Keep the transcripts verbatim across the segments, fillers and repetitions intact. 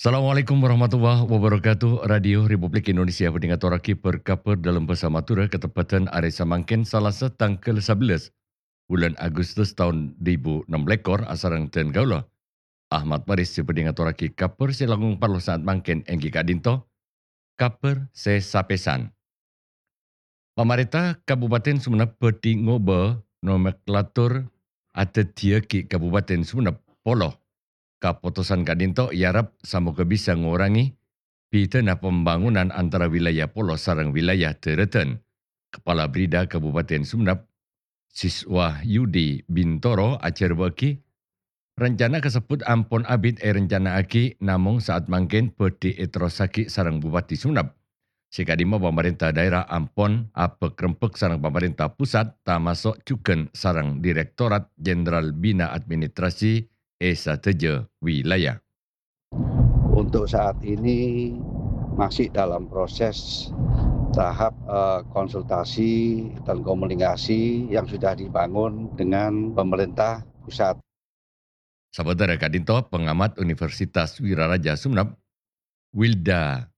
Assalamualaikum warahmatullahi wabarakatuh. Radio Republik Indonesia bhâdhi ngatorraghi bâr-kabhâr dâlem bhâsa Madhurâ katebbhâdhân arè samangkèn, Salasa tangghâl sabellâs bulân Agustus taon du èbu ennem lèkor, asareng dân kaulâ, Ahmad Faris, sè bhâdhi ngatorraghi kabhâr sè langkong parlo saat mangkèn, èngghi ka'dinto kabhâr sè sapèsan. Pamarènta Kabupaten Sumenep bhâdhi ngobâ nomenklatur adhâddhiyâghi Kabupaten Sumenep Polo. Kapotosan ka'dinto èarep samoghâ bisa ngorangè bhidhâna pembangunan antara wilayah Polo sareng wilayah dârâdhân. Kepala Brida Kabupaten Sumenep, Siswa Yudi Bintoro, ajhârbâ'âghi, rencana kasebbhut ampon abit èrencana'aghi, namong saat mangkèn bhâdhi èterrossaghi sareng Bupati Sumenep. Sè ka'dimma pamarènta dhaèra ampon abhâk-rembhâk sareng pamarènta pusat, tamaso' jhughân sareng Direktorat Jenderal Bina Administrasi è sadhâjâ wilayah. Untuk saat ini masih dalam proses tahap, eh, konsultasi dan komunikasi yang sudah dibangun dengan pemerintah pusat. Sabâdhâna ka'dinto, pengamat Universitas Wiraraja Sumenep, Wilda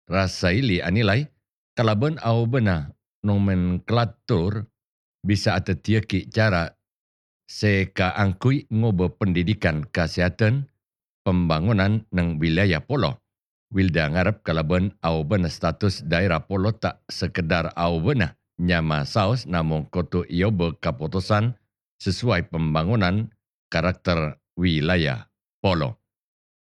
Rasaili anilai, kalabân aobâna nomenklatur bisa adhâddhiyâghi cara sè kaangghuy ngobâ pendidikan kasèhadhân pembangunan neng wilayah Polo. Wilda ngarep kalabân aobâna status dhaèra Polo ta' sekedar aobâna nyama saos, namong kodhu èobâ kapotosan sesuai pembangunan karakter wilayah Polo.